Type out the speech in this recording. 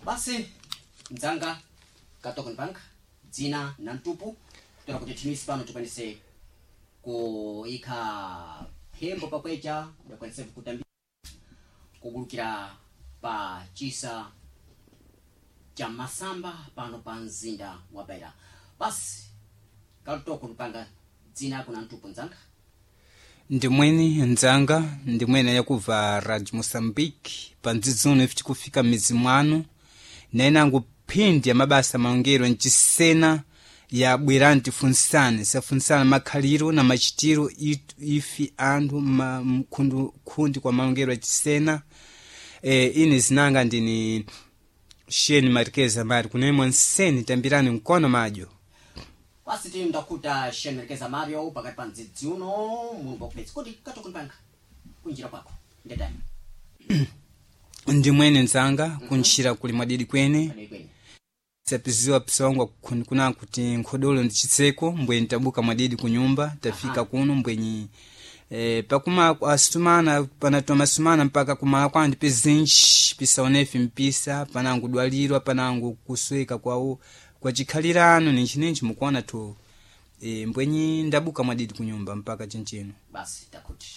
Basi mdzanga Katoko Bank, dzina na mtupu, kutola kuti thinisi pano tikwanise kuyikha phembo pakwecha, yakwanise kutambira kubulukira pa chisa cha masamba pano pa mzinda wa Beira. Basi Katoko Lupanga, dzina kuna mtupu, mdzanga. Ndimweni ndzanga, ndimwene yakubva Radio Moçambique pandzidzuno ife tikufika m'midzi mwanu nainango phindi ya mabasa maongero ncisena ya bwerani tifunsane, safunsana makhaliro na machitiro ifi anthu khundi kwa maongero acisena. Ine zinanga ndini Sheni Marquez Mari kunemwa nseni, tambirani mkono madyo. Basi tili ndakuta Shen Mario pakati pa mdzidzi uno mulungu wakupetsa kuti Katoko Lupanga, kunjira kwako ndetani? Ndimwene nzanga, kuntchira kuli mwadidi kwene. Pane kweni. Sapiziwa psongwa kuna kuti nkhodolo ndi chitseko, mbwenyi tabuka mwadidi kunyumba tafika. Kuno mbwenyi pakuma asumana panatoma sumana mpaka kumala kwandi pizinji pisaonefi mpisa panangu dwalirwa panangu kusweka kwawo kwachikhalirano ninchinenchi mukuona tu mbwenyi ndabuka mwadidi kunyumba mpaka chinchino. Basi takuti.